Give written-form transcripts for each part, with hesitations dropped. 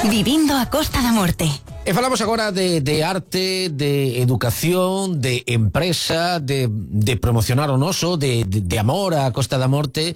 Vivindo a Costa da Morte. E falamos agora de arte, de educación, de empresa, de promocionar o noso, de amor á Costa da Morte.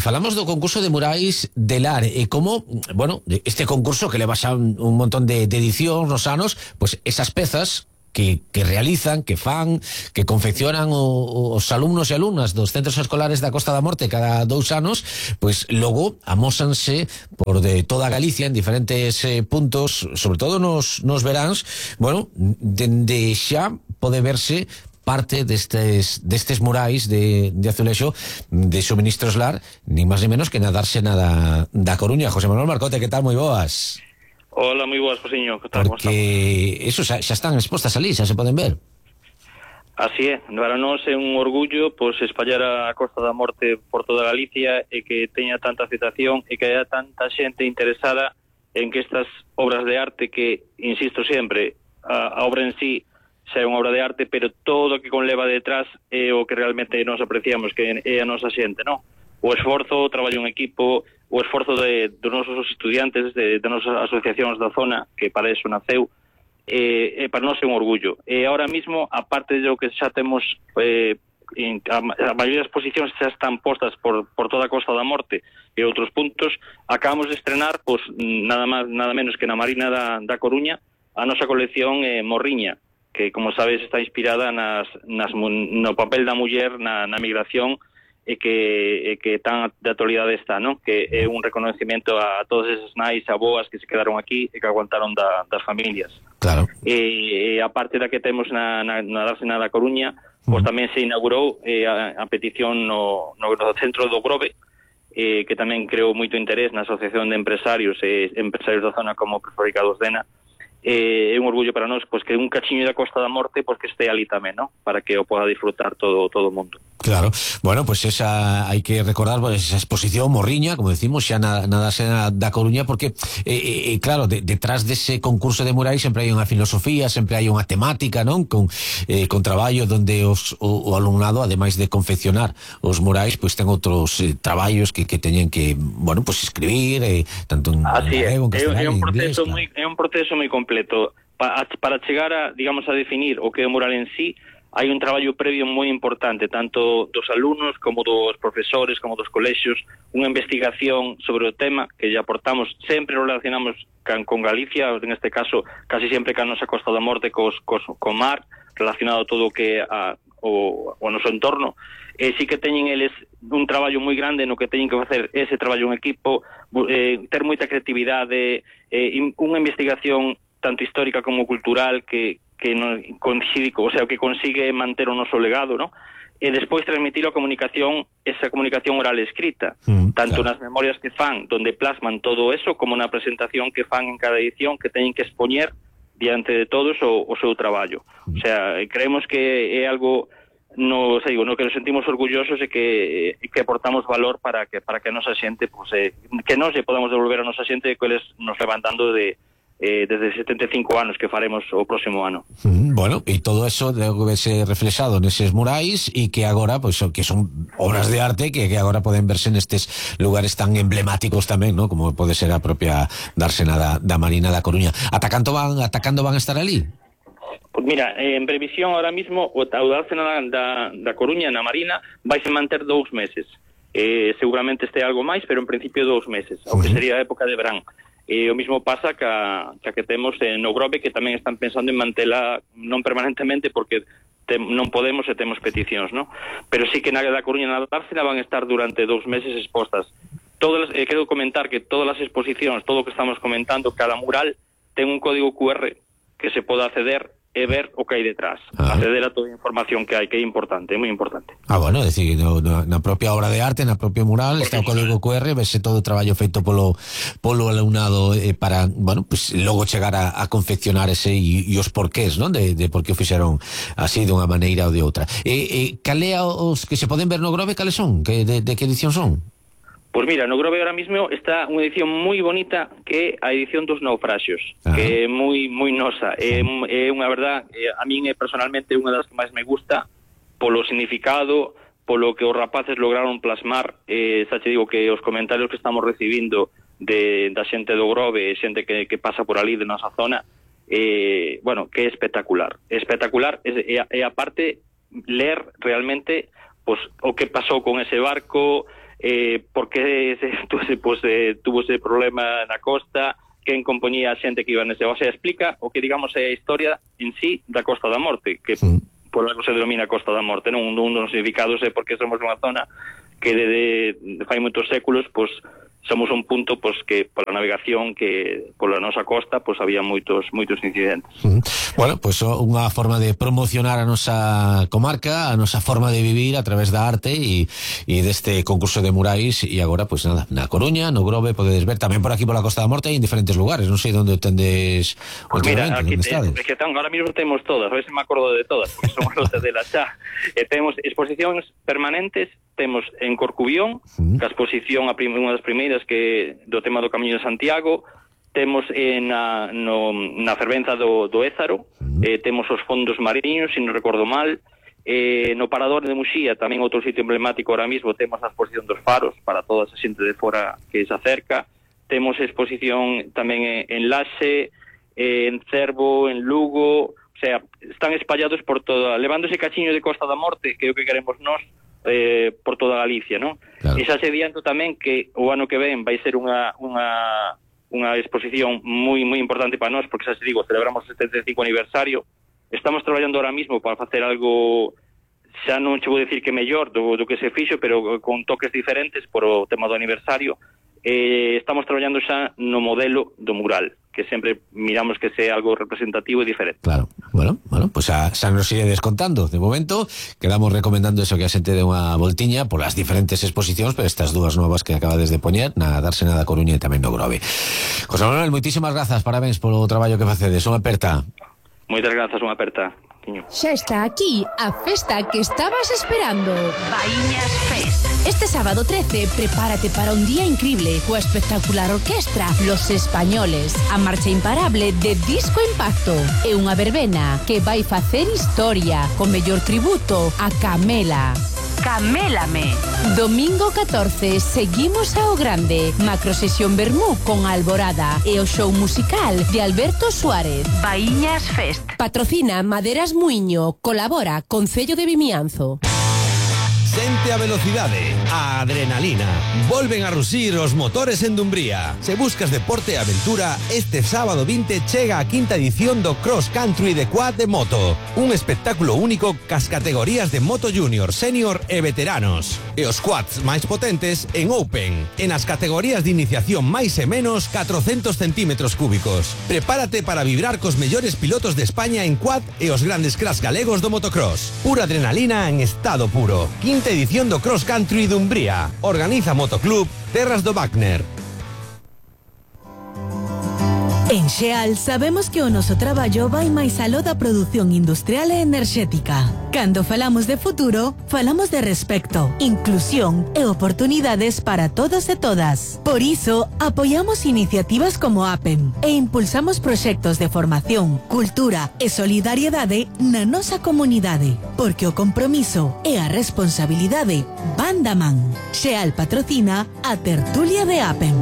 Falamos do concurso de murais de Lar e como, bueno, este concurso que leva xa un montón de edicións nos anos, pues esas pezas que realizan, que fan, que confeccionan os alumnos e alumnas dos centros escolares da Costa da Morte cada 2 anos, pois logo amósanse por de toda Galicia en diferentes puntos, sobre todo nos veráns. Bueno, dende xa pode verse parte destes murais de azulexo de Suministros Lar, nin máis nin menos que na dársena da Coruña. José Manuel Marcote, que tal? Moi boas. Hola, moi boas, Josiño. Que tal? Porque eso xa están expostas ali, xa se poden ver. Así é, para nós é un orgullo pois espallar a Costa da Morte por toda Galicia e que teña tanta aceptación e que haya tanta xente interesada en que estas obras de arte que, insisto sempre, a obra en sí xa é unha obra de arte, pero todo o que conleva detrás é o que realmente nos apreciamos, que é a nosa xente, non? O esforzo, o traballo en equipo, o esforzo dos nosos estudiantes, de nosas asociacións da zona, que para eso naceu, para nós é un orgullo. E ahora mismo, aparte de lo que xa temos, a maioría das exposicións xa están postas por toda a Costa da Morte e outros puntos, acabamos de estrenar, pues, nada menos que na Marina da Coruña, a nosa colección Morriña, que, como sabes, está inspirada no papel da muller na migración, e que tan de actualidade está, non? Que é un reconocimiento a todas esas nais, aboas que se quedaron aquí e que aguantaron das familias. Claro. E a parte da que temos na dársena da Coruña, pois tamén se inaugurou a petición no centro do Grove, que tamén creou moito interés na Asociación de Empresarios e Empresarios da Zona como Prefabricados Dena. É un orgullo para nós, pois, que un cachiño da Costa da Morte, pois, que este ali tamén, non? Para que o poda disfrutar todo o mundo. Claro, bueno, pues esa hai que recordar, pues, esa exposición Morriña, como decimos, xa na dársena da Coruña, porque claro, detrás dese concurso de murais sempre hai unha filosofía, sempre hai unha temática, non? Con traballo donde o alumnado, ademais de confeccionar os murais, pues ten outros traballos que teñen que, bueno, pues escribir, tanto en galego, en castelán, en inglés. É un proceso moi completo. Para chegar a, digamos, a definir o que é o mural en sí, hai un traballo previo moi importante, tanto dos alumnos como dos profesores, como dos colexios, unha investigación sobre o tema que lle aportamos, sempre relacionamos con Galicia, en este caso, casi sempre ca nosa Costa da Morte, co mar, relacionado todo o que o noso entorno, e sí que teñen eles un traballo moi grande no que teñen que facer ese traballo en equipo, ter moita creatividade, unha investigación tanto histórica como cultural que non coincide, o sea, que consigue manter o noso legado, ¿no? E despois transmitir a comunicación, esa comunicación oral escrita, tanto nas memorias que fan, donde plasman todo eso, como na presentación que fan en cada edición, que teñen que expoñer diante de todos o seu traballo. O sea, creemos que é algo no que nos sentimos orgullosos e que aportamos valor para que a nosa xente, pues, que nos lle podamos devolver a nosa xente que eles nos levantando desde 75 anos que faremos o próximo ano. Bueno, e todo eso debe verse reflexado neses murais e que agora, pois, que son obras de arte que agora poden verse nestes lugares tan emblemáticos tamén, ¿no? Como pode ser a propia dársena da Marina da Coruña. Ata cando van a estar ali? Pues mira, en previsión ahora mismo o dársena da Coruña na Marina vaise manter 2 meses. Seguramente este algo máis, pero en principio 2 meses, o que sería a época de verán. E o mismo pasa que temos no Grove, que tamén están pensando en mantela non permanentemente porque non podemos e temos peticións, ¿no? Pero sí que na da Coruña na dársena van a estar durante 2 meses expostas. Quero comentar que todas as exposicións, todo o que estamos comentando, cada mural ten un código QR que se pode acceder e ver o que hai detrás, acceder a toda a información que hai, que é importante, é moi importante. Bueno, é dicir, na propia obra de arte, na propia mural, está o código QR, vese todo o traballo feito polo alumnado para, bueno, pues logo chegar a confeccionar ese e os porqués, non? De por que o fixeron así dunha maneira ou de outra. Cal é os que se poden ver no Grove, cales son? De que edición son? Pois mira, no Grove ahora mismo está unha edición moi bonita que é a edición dos naufraxios, que é moi nosa, é unha verdad, a min personalmente unha das que máis me gusta polo significado, polo que os rapaces lograron plasmar, xa te digo que os comentarios que estamos recibindo da xente do Grove, xente que pasa por ali de nosa zona, bueno, que é espectacular. Espectacular, e a parte ler realmente pues, o que pasou con ese barco, por que tuvo ese problema na costa, quen compoñía a xente que iba nese, o sea, explica o que digamos é a historia en sí da Costa da Morte, que por algo se denomina Costa da Morte, non? Un dos significados é porque somos unha zona que de fai moitos séculos, pues somos un punto pues que pola navegación que pola nosa costa pues había moitos incidentes. Bueno, pues unha forma de promocionar a nosa comarca, a nosa forma de vivir a través da arte e deste concurso de murais. E agora, pues nada, na Coruña, no Grove, podedes ver tamén por aquí pola Costa da Morte en diferentes lugares. Non sei onde tendes pues mira, aquí ahora mismo temos todas, a ver se me acordo de todas, porque somos los de la xa. Temos exposicións permanentes, temos en Corcubión, que a exposición unha das primeiras que do tema do Camiño de Santiago, temos na fervenza do Ézaro, temos os fondos mariños, se non recordo mal, no Parador de Muxía, tamén outro sitio emblemático ahora mismo, temos a exposición dos faros para toda esa xente de fora que se acerca, temos exposición tamén en Laxe, en Cervo, en Lugo, o sea, están espallados por toda, levando ese cachiño de Costa da Morte, que é o que queremos nós, por toda Galicia, non? Claro. E xa se adianto tamén que o ano que ven vai ser unha exposición moi importante para nós, porque xa se digo, celebramos o 75 aniversario. Estamos traballando ahora mismo para facer algo, xa non che vou decir que mellor do que se fixo, pero con toques diferentes por o tema do aniversario. Estamos traballando xa no modelo do mural, que sempre miramos que sea algo representativo e diferente. Claro, bueno, pues xa nos iré descontando. De momento, quedamos recomendando eso, que a xente de unha voltiña por as diferentes exposicións, pero estas dúas novas que acabades de poñer, na Dársena da Coruña e tamén no Grove. José Manuel, moitísimas grazas, parabéns polo traballo que facedes. Unha aperta. Moitas grazas, unha aperta. Xa está aquí a festa que estabas esperando. Baíñas Fest. Este sábado 13, prepárate para un día increíble coa espectacular orquestra Los Españoles, a marcha imparable de Disco Impacto e unha verbena que vai facer historia co mellor tributo a Camela. Camélame. Domingo 14, seguimos ao grande. Macrosesión Bermú con Alborada e o show musical de Alberto Suárez. Baíñas Fest. Patrocina Maderas Muiño. Colabora Concello de Vimianzo. Sente a velocidade, a adrenalina. Volven a rusir os motores en Dumbría. Se buscas deporte e aventura, este sábado 20 chega a quinta edición do Cross Country de Quad de Moto. Un espectáculo único cas categorías de Moto Junior, Senior e Veteranos. E os quads máis potentes en Open. En as categorías de iniciación máis e menos 400 centímetros cúbicos. Prepárate para vibrar cos mellores pilotos de España en quad e os grandes cracks galegos do motocross. Pura adrenalina en estado puro. Quinta edición do Cross Country Dumbría. Organiza Motoclub Terras do Wagner. En Xeal sabemos que o noso traballo vai máis aló da produción industrial e enerxética. Cando falamos de futuro, falamos de respecto, inclusión e oportunidades para todos e todas. Por iso, apoiamos iniciativas como APEM e impulsamos proxectos de formación, cultura e solidariedade na nosa comunidade, porque o compromiso e a responsabilidade van da man. Xeal patrocina a tertulia de APEM.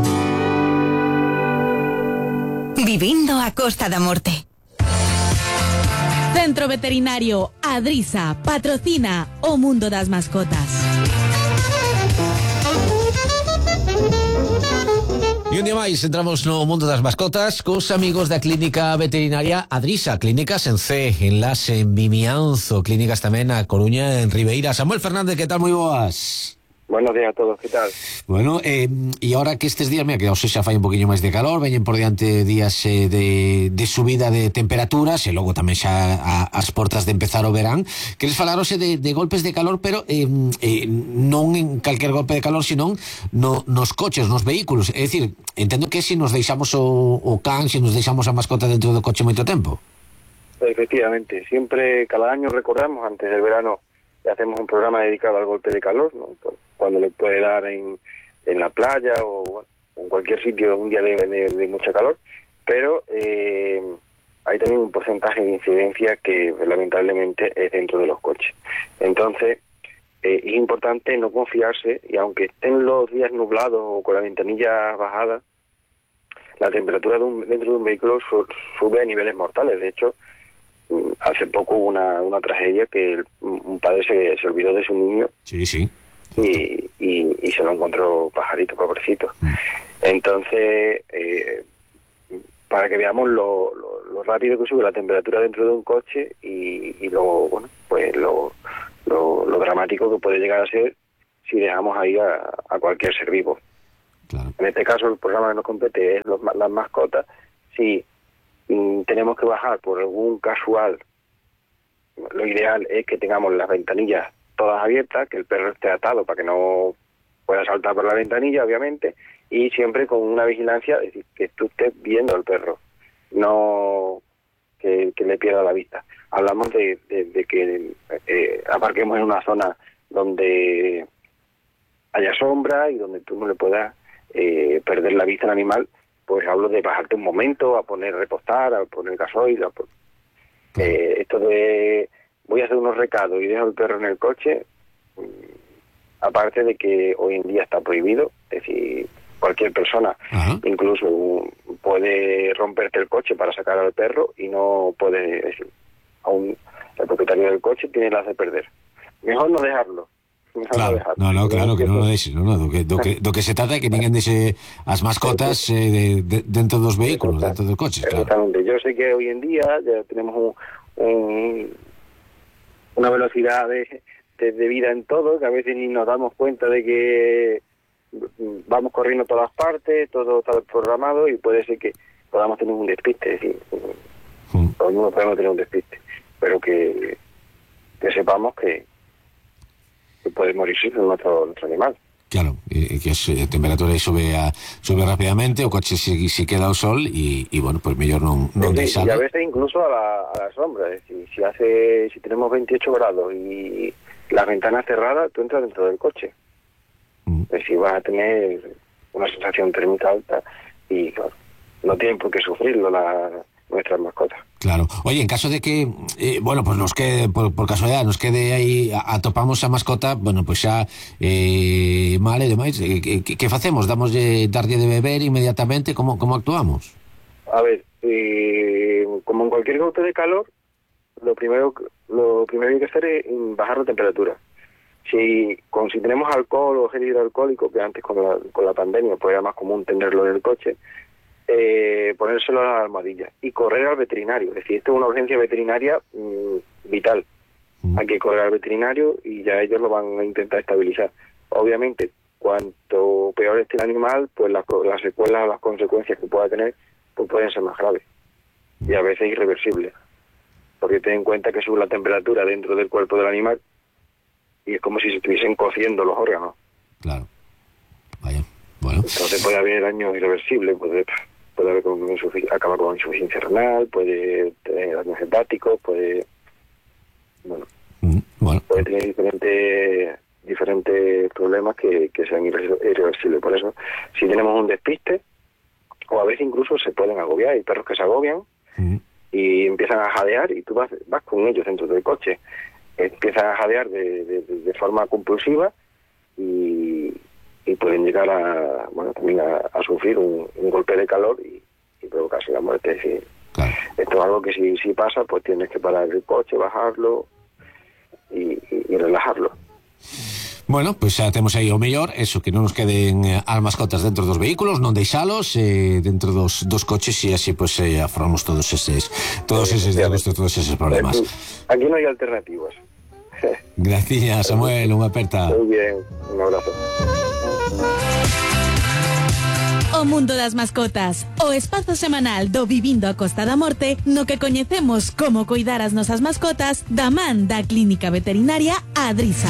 Vivindo a Costa da Morte. Centro Veterinario Adrisa patrocina o mundo das mascotas. E un día máis entramos no mundo das mascotas cos amigos da Clínica Veterinaria Adrisa, clínicas en C, en Laxe, en Vimianzo, clínicas tamén na Coruña, en Ribeira. Samuel Fernández, que tal? Moi boas. Buenos días a todos, ¿qué tal? Bueno, e ahora que estes días, mira, que xa fai un poquinho máis de calor, veñen por diante días de subida de temperaturas e logo tamén xa as portas de empezar o verán. Queres falarose de golpes de calor, pero non en calquer golpe de calor, senón nos coches, nos vehículos. É dicir, entendo que se nos deixamos o can, se nos deixamos a mascota dentro do coche moito tempo. Efectivamente, siempre, cada año recordamos, antes del verano, hacemos un programa dedicado al golpe de calor, ¿no? Cuando le puede dar en la playa o bueno, en cualquier sitio un día de mucha calor, pero hay también un porcentaje de incidencia que lamentablemente es dentro de los coches. Entonces, es importante no confiarse, y aunque estén los días nublados o con la ventanilla bajada, la temperatura dentro de un vehículo sube a niveles mortales. De hecho, hace poco hubo una tragedia que un padre se olvidó de su niño. Sí. Y se lo encontró pajarito, pobrecito. Entonces, para que veamos lo rápido que sube la temperatura dentro de un coche y lo dramático que puede llegar a ser si dejamos ahí a cualquier ser vivo. Claro. En este caso, el programa que nos compete es las mascotas. Si tenemos que bajar por algún casual, lo ideal es que tengamos las ventanillas todas abiertas, que el perro esté atado para que no pueda saltar por la ventanilla, obviamente, y siempre con una vigilancia, es decir, que tú estés viendo al perro, no que le pierda la vista. Hablamos de que aparquemos en una zona donde haya sombra y donde tú no le puedas perder la vista al animal. Pues hablo de bajarte un momento, a poner repostar, a poner gasoil, esto de voy a hacer unos recados y dejo el perro en el coche, aparte de que hoy en día está prohibido, es decir, cualquier persona incluso puede romperte el coche para sacar al perro y no puede, es decir, aún el propietario del coche tiene las de perder. Mejor no dejarlo. Claro, claro que non o deixes, do que se trata é que ninguén deixe as mascotas dentro dos vehículos, dentro dos coches, claro. Exactamente. Yo sé que hoy en día ya tenemos una velocidad de vida en todo, que a veces ni nos damos cuenta de que vamos corriendo a todas partes, todo está programado y puede ser que podamos tener un despiste, es decir, todo el mundo podemos tener un despiste, pero que sepamos que puede morirse nuestro animal. Claro, que a temperatura sube rápidamente, o coche si queda ao sol e bueno, pues mellor non deixalo. Y a veces incluso a la sombra, es decir, si tenemos 28 grados y las ventanas cerradas, tú entras dentro del coche. Es decir, vas a tener una sensación térmica alta y claro, no tienen por qué sufrirlo nuestras mascotas. Claro. Oye, en caso de que, bueno, pues nos quede, por casualidad, nos quede aí, atopamos a mascota, bueno, pues xa mal e demais, que facemos? Darlle de beber inmediatamente? Como actuamos? A ver, como en cualquier golpe de calor, lo primero que hay que hacer es bajar la temperatura. Si tenemos alcohol o gel hidroalcohólico, que antes con la pandemia pues era más común tenerlo en el coche, ponérselo a la almohadilla y correr al veterinario. Es decir, esto es una urgencia veterinaria vital. Hay que correr al veterinario y ya ellos lo van a intentar estabilizar. Obviamente, cuanto peor esté el animal, pues las secuelas o las consecuencias que pueda tener pues pueden ser más graves y a veces irreversibles. Porque ten en cuenta que sube la temperatura dentro del cuerpo del animal y es como si se estuviesen cociendo los órganos. Claro. Vaya. Bueno. Entonces puede haber daño irreversible, puede haber acabar con insuficiencia renal, puede tener daños hepáticos, puede tener diferentes problemas que sean irreversibles. Por eso, si tenemos un despiste, o a veces incluso se pueden agobiar, hay perros que se agobian y empiezan a jadear y tú vas con ellos dentro del coche, empiezan a jadear de forma compulsiva y pueden llegar también a sufrir un golpe de calor y provocarse la muerte. Es decir, claro. Esto es algo que si pasa, pues tienes que parar el coche, bajarlo y relajarlo. Bueno, pues xa temos aí o mellor, eso, que non nos queden as mascotas dentro dos vehículos, non deixalos dentro dos coches e así pues afrontamos todos eses diagnostos, todos eses problemas. Aquí no hai alternativas. Gracias, Samuel, unha aperta. Muy bien, un abrazo. O mundo das mascotas, o espazo semanal do Vivindo a Costa da Morte, no que coñecemos como coidar as nosas mascotas da man da Clínica Veterinaria Adrisa.